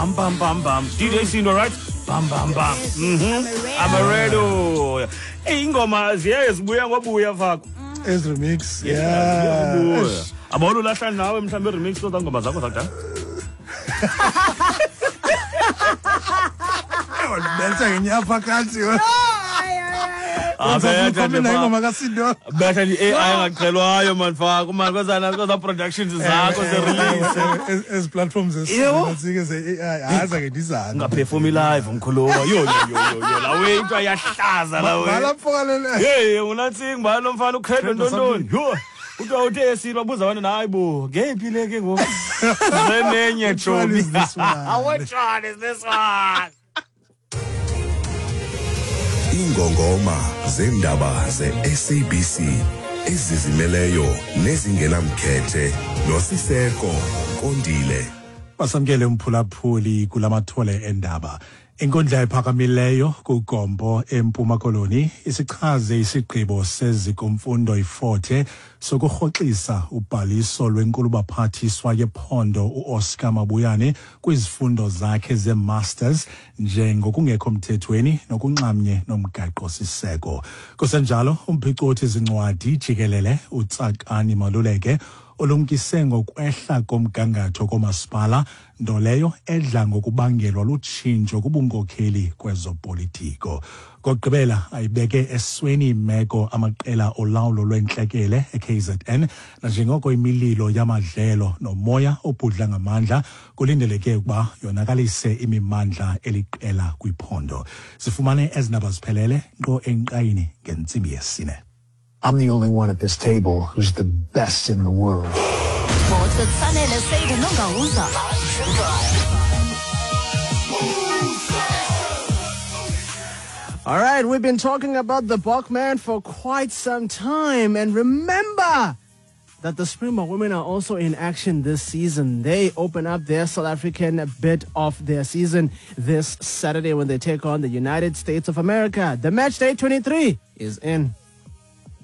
Bam bam bam bam. DJ Sindo, right? Bam bam bam. Amaredo. Hey, ingoma ziye zibuya ngobuya fakho. As remix. Yeah. Abona ulahla nawe mhlawumbe remix zozaa ngoma zakho zakudala. Wandibetha ngenyaphakathi. Ingoma kaSindo. Betha i-AI engaqhelwayo man fakho man kwezaa productions zakho ze-release. Ezi platforms zesike ze-AI hayi zange ndizame. Ungaperformi live mkhuluwa. Yo yo yo yo la way into ayahlaza la way. Balapfokalele. Hey, unatsinga ba lo mfana uCredo ntontoni. Yho. Kuthiwa uthe esile babuza abantu hayi bo, ngeyiphi le ke ngoku? Zenenye chomi. Which one is this one? Ingongoma zendaba ze-SABC ezizimeleyo nezingenamkhethe noSiseko Kondile. Basamkele umphulaphuli kulamathole endaba. Inkundla ephakamileyo kuGompo eMpuma Koloni isichaze isigqibo sezikomfundo iForte sokurhoxisa ubhaliso lwenkulubaphathiswa yephondo uOscar Mabuyane kwizifundo zakhe ze-masters njengokungekho mthethweni nokunxamnye nomgaqo-siseko. Kusenjalo, umphicothi zincwadi jikelele uTsakani Maluleke olumkise ngokwehla komgangatho komasipala, nto leyo edla ngokubangelwa lutshintsho kubunkokheli kwezopolitiko. Kokugqibela ayibeke esweni imeko amaqela olawulo lwentlekele eKZN nanjengoko imililo yamadlelo nomoya obhudla ngamandla kulindeleke ukuba yonakalise imimandla eliqela kwiphondo. Sifumane ezindaba ziphelele nkqo enkqayini ngentsimbi yesine. I'm the only one at this table who's the best in the world. Sports with Sanele Seydu Nongauza. All right, we've been talking about the Bokman for quite some time. And remember that the Springbok women are also in action this season. They open up their South African bit of their season this Saturday when they take on the United States of America. The match day 23 is in.